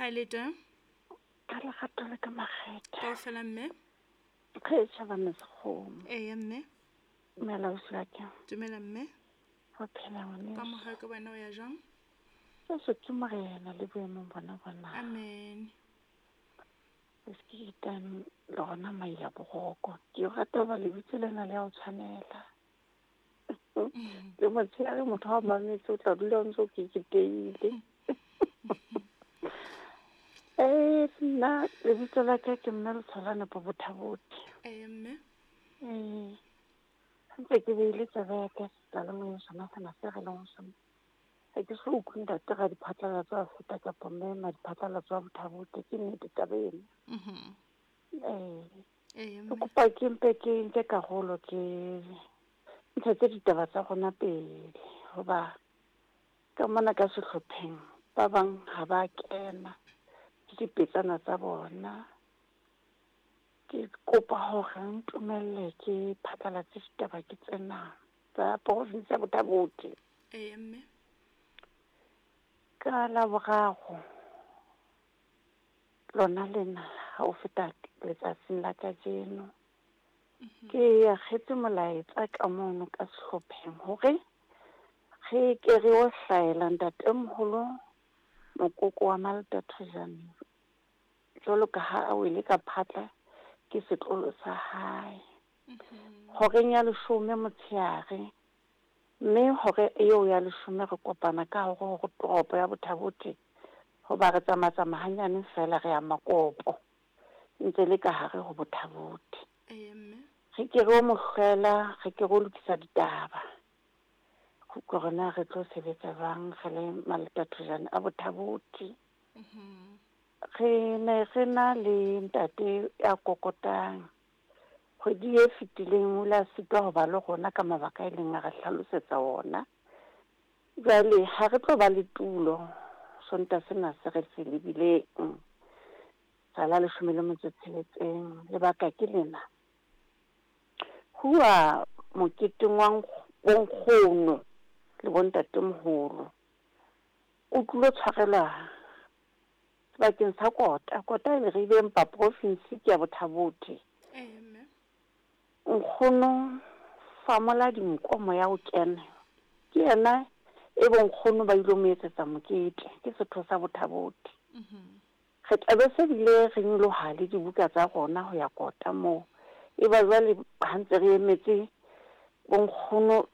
Ga le teng. Ka lerato le ka makgethe. Kaofela mme. Re tjhaba Sekgomo. Eya mme. Dumela ausi wa ka. Dumela mme. Ho phela ngwaneso. Ka mohau ka wena o ya jwang? Jesu ke morena le boemong bona bona. Amen. Se ke itang le gona maila boroko. Ke rata hoba lebitso lena le ya o tshwanela. Le motshehare motho ha o mametse o tla dula o ntse o keketeile. Eh nna lebitso la ka ke mme Letsholane Bobothabothe. Eya mme. Eh ntse ke beile tsebe ya ka seyalemoyeng sona sena se re leng ho sona. Ha ke so utlwe ntate Radiphatlalatso a feta kapa mme Madiphatlalatso a Bothabothe ke nnete taba eno. Eh Eya ke mme. kopa ke mpe ke nke karolo ke ntshetse ditaba tsa rona pele hoba ka mona ka sehlopheng ba bang ha ba kena ke dipetsana tsa bona. Ke kopa hore ntumelle ke phatlalatse ditaba ke tsena tsa province ya Botha-Bothe. Eya mme. Ka Laboraro lona lena ha o feta letsatsing la kajeno ke akgetse molaetsa ka mono ka sehlopheng hore re ke re yo hlaela ntatemoholo mokoko wa Maltathojane jwalo ka ha a wele ka phatla ke setlolo sa hae. Horeng ya leshome motshehare, mme hore eo ya leshome re kopana ka hare ho toropo ya Botha-Bothe hoba re tsamaya-tsamaya hanyane fela re ya Makopo ntse le ka hare ho Botha-Bothe. Eya mme. Re ke re o mo hlwela, re ke re o lokisa ditaba. Hore na re tlo sebetsa jwang re le Maltathojane a Botha-Bothe. Re ne re na le ntate ya kokotang. Kgwedi e fetileng o ile a sitwa ho ba le rona ka mabaka a ileng a re hlalosetsa ona. Jwale ha re tlo ba le tulo Sontaha sena se re se lebileng sa la 16. Lebaka ke lena. Huwa moketeng wa bonkgono le bontatemoholo. O tlilo tshwarelwa sebakeng sa Kota. Kota e le re empa province ke ya Botha-Bothe. Eya mme. Nkgono Famola Dinkomo ya ho kena ke yena e bonkgono ba ilo mo etsetsa mokete ke setho sa Botha-Bothe. Re tlabe se bile re nyoloha le dibuka tsa rona ho ya Kota moo. E ba jwale ha ntse re emetse bonkgono le